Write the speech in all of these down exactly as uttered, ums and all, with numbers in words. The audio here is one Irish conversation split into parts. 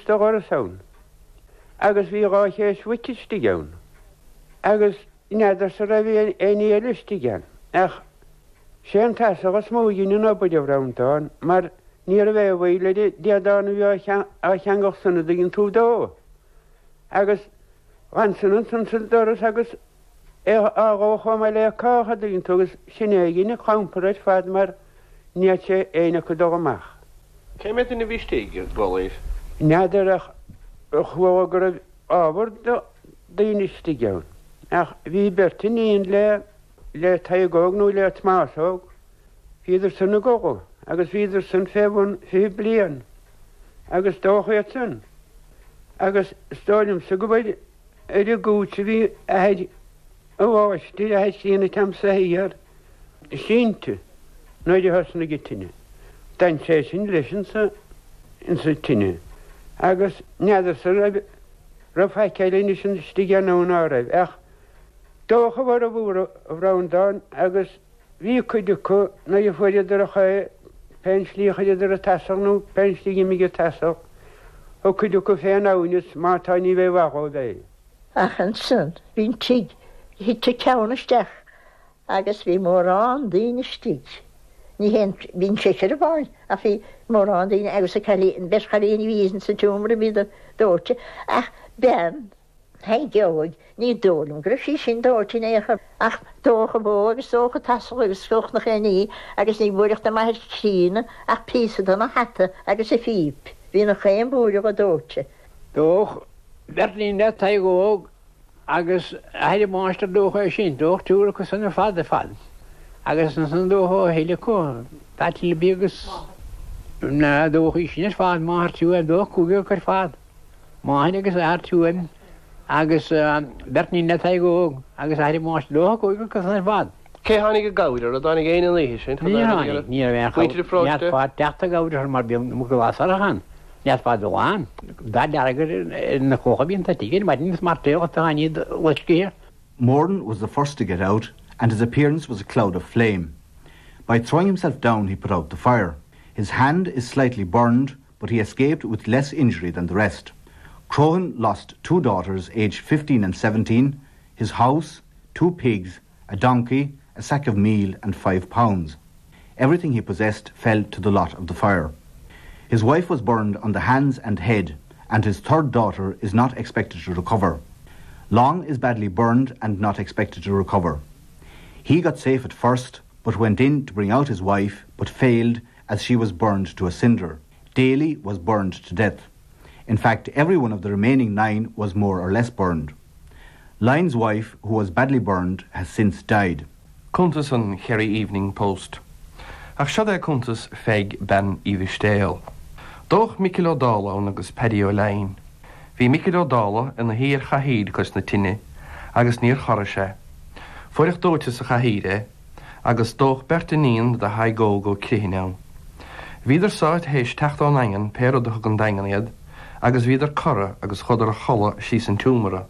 de dhoras ann. Agus bhí dhá chéas mhuice istigh ann. Agus n'fheadarsa an raibh éinne eile istigh ann. Ach sé an taosach is mó a dhein an obair a Bhreandáin mar ní raibh aon bhaol ar an déadán a bhí á cheangal san a dtuigeann tú dó. Agus d'fhan san ansan sa doras agus é á dhó chomh maith le cách a dtuigeann tú agus sin é a dhein an clampar ar fad mar ní fhéadfadh sé éinne acu dul amach. Cé mhéad duine a bhí istigh ag dul N'fheadar ach chuala go raibh ábhar daoine istigh ann. Ach bhí beirt iníon le le Tadhg Óg nó le Tomás Óg, bhíodar san ag gabháil agus bhíodar san fé bhun fiche bliain agus dódh iad san. Agus is dóigh liomsa go bhfuil ar an gcúits a bhí athair an mháistir athair críonna agamsa thiar sínte nuair a thosnaigh an tine. D'fhan sé sin leis insa insa tine. Agus n'fheadarsa raibh raibh faic eile anois istigh ann nó ná raibh ach dódh a bhformhór a Bhreandáin agus bhí cuid acu nuair a fuaireadar a chaoi pén slí a chuireadar an taosach nó pén slí a d'imigh an taosach thug cuid acu fén abhainn is má tá ní bheidh mhaith dhóibh é. Ach ansan bhí an tigh thit an ceann isteach agus bhí mórán daoine istigh. Ní haon bhíonn sé sir amháin ach bhí mórán daoine agus a cailín beirt chailíní bhí sa tseomra bhí dóite ach bean Thaidhg ní dóigh liom go raibh sí sin dóite in aon chor ach dódh an bhó agus dódh an t-asal agus dódh na chéiní agus ní bhfuaireacht a m'athair críonna ach píosa den a hata agus a phíp. Bhí na chaon búir go dóite. Dódh beirt iníon le Tadhg Óg agus athair an mháistir dódh é sin dódh triúr acu san ar fad ar fad. Agus ansan dódh a thuilleadh acu Pat agus na dódh sin ar fad máthair Tuaim dódh cúigear acu ar fad. Máthair agus athair Tuaim agus beirt iníon le Tadhg Óg agus athair an mháistir dódh cúigear acu san ar fad. Cé tháinig i gcabhair ar a dtáinig aon an oíche sin Ní tháinig ní Muintir pharóiste teacht i gcabhair mar bhí glasarachan. Neasfad amháin dá deargar na clocha bíonn tá maidin is mar tá loiscthe. Moran was the first to get out, and his appearance was a cloud of flame. By throwing himself down, he put out the fire. His hand is slightly burned, but he escaped with less injury than the rest. Crohan lost two daughters aged fifteen and seventeen, his house, two pigs, a donkey, a sack of meal and five pounds. Everything he possessed fell to the lot of the fire. His wife was burned on the hands and head, and his third daughter is not expected to recover. Long is badly burned and not expected to recover. He got safe at first, but went in to bring out his wife, but failed as she was burned to a cinder. Daly was burned to death. In fact, every one of the remaining nine was more or less burned. Lyon's wife, who was badly burned, has since died. Cuntas an Kerry Evening Post. Ach seo é cuntas Pheig bean Uí Mhistéil. Dódh Micil Ó Dálaigh ann agus Paddy Ó Leidhin. Bhí Micil Ó Dálaigh ina shuí ar chathaoir cois na tine, agus níor chorraigh sé. Fuaireadh dóite sa chathaoir é, agus dódh beirt iníon do Thadhg Óg Ó Criomhthain ann. Bhíodar sáite théis teacht ón Daingean pé rud a thug an Daingean iad, agus bhíodar cortha agus chuadar a chodladh síos an tseomra.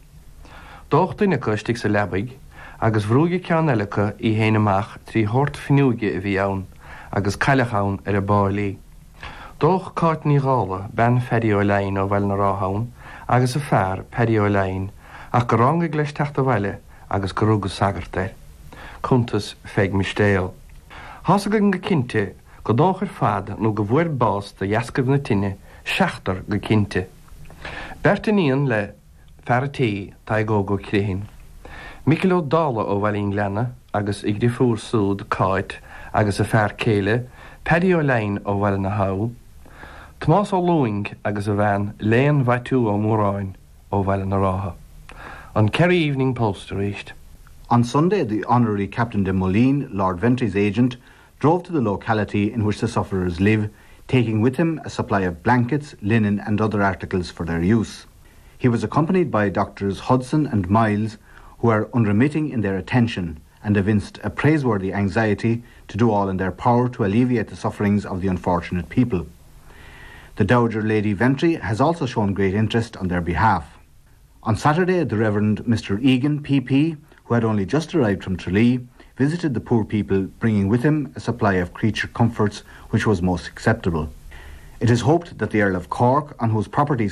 Dódh duine acu istigh sa leabaidh, agus bhrúigh ceann eile acu í féin amach trí shórt fuinneoige a bhí ann, agus cailleadh ann ar an bpáil í. Dódh Cáit Ní Dhálaigh bean Phaddy Ó Leidhin ó Bhaile na Rátha ann, agus a fear Paddy Ó Leidhin, ach gur ráinig leis teacht abhaile agus gur rugadh sagart air. Cuntas Pheig Mistéil. Tá 's againn go cinnte go dódh ar fad nó go bhfuair bás de dheascaibh na tine seachtar go cinnte. Beirt iníon le fear an tí Tadhg Óg Ó Criomhthain. Micil Ó Dálaigh ó Bhaile an Ghleanna agus a dheirfiúr súd Cáit agus a fear céile Paddy Ó Leidhin ó Bhaile na hAbha, Tomás Ó Lúing agus a bhean Léan Mhaitiú Ó Móráin ó Bhaile na Rátha. An Kerry Evening Post arís. On Sunday, the honorary Captain de Moline, Lord Ventry's agent, drove to the locality in which the sufferers live, taking with him a supply of blankets, linen and other articles for their use. He was accompanied by Doctors Hudson and Miles, who are unremitting in their attention and evinced a praiseworthy anxiety to do all in their power to alleviate the sufferings of the unfortunate people. The Dowager Lady Ventry has also shown great interest on their behalf. On Saturday, the Reverend Mister Egan, P P, who had only just arrived from Tralee, visited the poor people, bringing with him a supply of creature comforts which was most acceptable. It is hoped that the Earl of Cork, on whose property